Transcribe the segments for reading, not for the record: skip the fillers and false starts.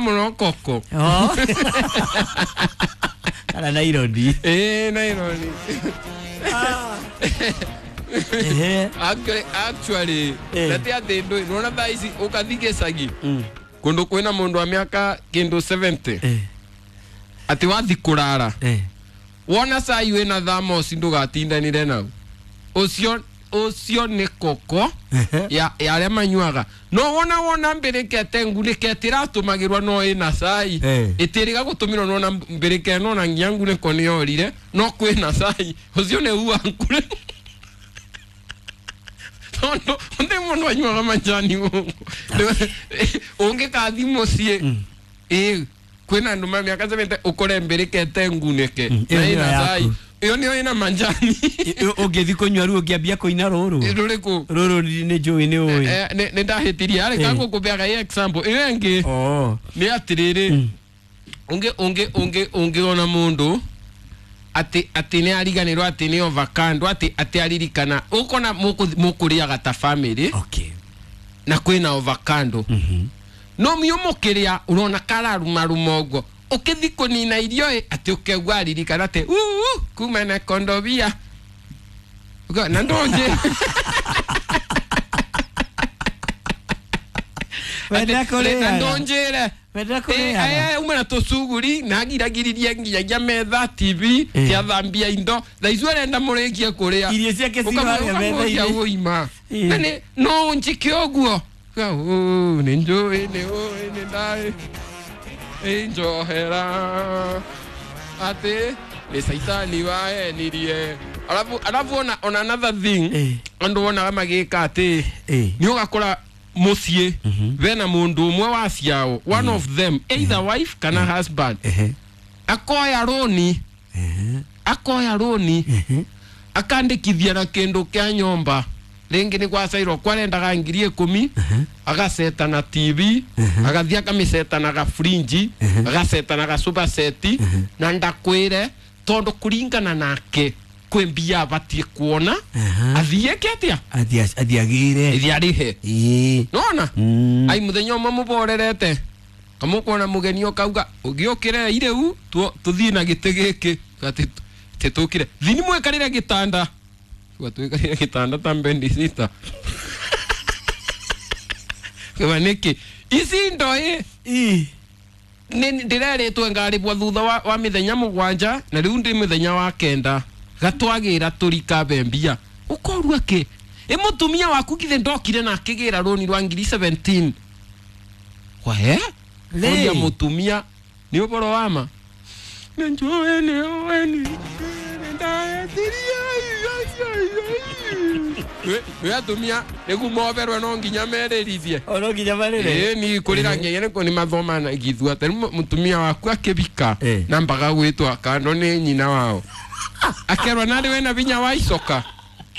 muno koko. Oh. Kana naironi. Naironi. Actually nati ati ndu nona thaa ici ukathi gĩcagi kundu kwina mundu wa miaka kindu 70 ati wathi kurara wona cai wina thermos ndugatindanire nau ucio ucio ni koko ya aria manyuaga no wona mbirikete ngunike tiratumagira no ina cai itiriga gutumirwo no na mbirike no na nginya nguniko ni yorire no kwina cai ucio ni uwa nkure no onde mundu anyuaga majani ungikathi mucii kwina andu ma miaka 70 ukore mbirikete ngunike na ina cai iyo niyo ina manjani ungithi kunywa ru ungiambia kuina ruru ruriku ruru ni njui ni ui ni ndahitirie ari kangukubeaga i example iyo ingi ni atiriri ungi ungi ungi ungiona mundu ati ni ariganirwo ati ni avocado ati aririkana ukona mukuriaga ta family okay na kwina avocado no mio mukiria urona kararumaruma uguo ukithi kunina irio ati ukegwa aririkana ati kuma na kondobia na ndonje na ndonjere umena tucuguri na ngiragiririe nginyagia metha TV tiathambia indo thaa icio arenda murikie kuria irio ciake ciharia metha-inĩ uima na ni no njike uguo ni njui ni ui ni ndai njohera ati ni saitani waenirie alafu ona another thing andu wonaga magika ati ni ugakora mucii bena mundu umwe wa ciao one of them either wife kana husband akoya roni akandikithia na kindu kia nyomba ringi ni gwacairwo kwarendaga 10,000 agaceta na TV agathia akamiceta na gafrinji agaceta na gasupa seti na ndakwire tondu kuringana nake kwi mbia abatie kuona athieke atia athiagire ithiarihe nona ai muthenya umwe muborerete kamukuona mugeni ukauga ugiukire ireu tuthie na giti giki ati titukire thini mwikarire gitanda tuikarire gitanda ta mbendi sita kwa niki ici ndo ni ndireritwe ngaribwa thutha wa mithenya mugwanja na riu ndi mithenya wa kenda gatwagira turikabe mbia ukorua ki mutumia waku githe ndokire na akigira roni rwa 2017 kwa oria mutumia ni uboro wama njoe ni oeni we atumia nigu moberwe no nginya mererithie no nginya marire ni kurira nginya ni ni mathoma na githua tari mutumia waku akibika na mbaga gwitwa kando ni nyina wao akerwa nari wena binya wa icoka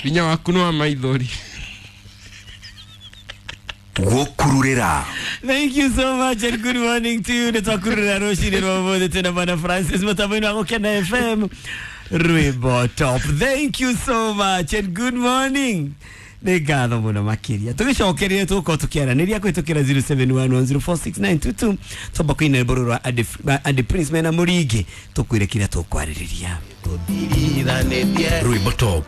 binya waku no maithori Gukururira. Thank you so much and good morning to you. Nitwakururira rucini rwa umuthi twina Bwana Francis mutambo-inĩ wa Gukena FM Rwimbo Top. Thank you so much and good morning. Nĩ ngatho mũno makĩria tũgĩcokererie tũgũkorwo tũkĩaranĩria kũhĩtũkĩra 0711046922 twamba kũina rwĩmbo rũrũ rwa Andy Prince mena Mũringi tũkwĩre kĩrĩa tũkwarĩrĩria. Rwimbo Top.